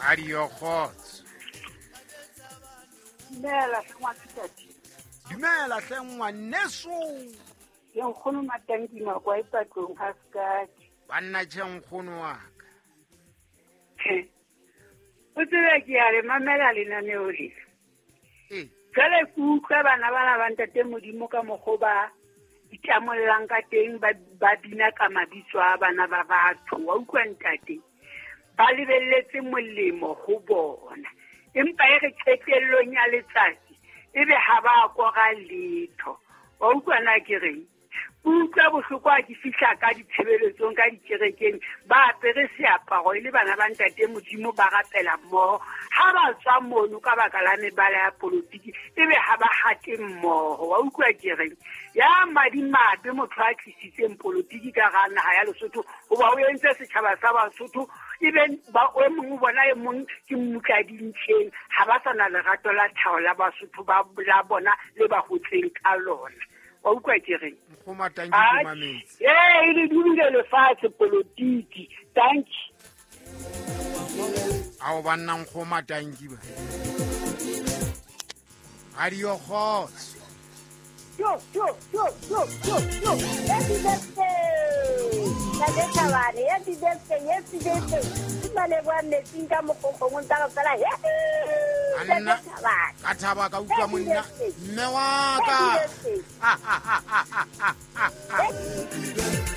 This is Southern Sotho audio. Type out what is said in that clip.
Radio Kgotso. Dumela hle ngwakitate. Dumela hle ngwaneso. Ke nkgono Matanki Makwa e patlong ha sekati. Banna tjhe nkgono wa ka. O tsebe ke a le mamela lenaneo le. Ee. Jwale ke utlwa bana bana ba ntate Modimo ka mokgo ba itamollang ka teng ba ba bina ka mabitso a bana ba batho. Wa utlwa ntate? Ba lebelletse molemo ho bona. Empa e re qetellong ya letsatsi ebe ha ba kora letho. Wa utlwa na ke reng? Ke utlwa bohloko ha ke fihla ka ditshebeletsong ka dikerekeng ba apere seaparo e le bana ba ntate Modimo ba rapela mmoho. Ha ba tswa mono ka baka la mebala ya polotiki ebe ha ba hate mmoho. Wa utlwa ke reng? Ya madimabe motho a tlisitseng polotiki ka hara naha ya Lesotho hoba o entse setjhaba sa Basotho ebe ba o mong o bona e mong ke mmutla dintjheng ha ba sa na lerato la tlhaho la Basotho ba la bona le ba hotseng ka lona. Wa utlwa ke reng? Nkgomo a tanki ke mametse. Ee, e le dubile lefatshe polotiki. Tanki. Ao banna nkgomo a tanki ba. Radio Kgotso. Yo, yo, yo, yo, yo, yo. Happy birthday. Ntate Thabane, happy birthday, happy birthday. Ke maleboha metsing ka mokgokgong tsa go fela. Happy Anna, Ntate Thabane. ka thaba ka utlwa Happy monna. birthday. Mme wa ka. Happy birthday.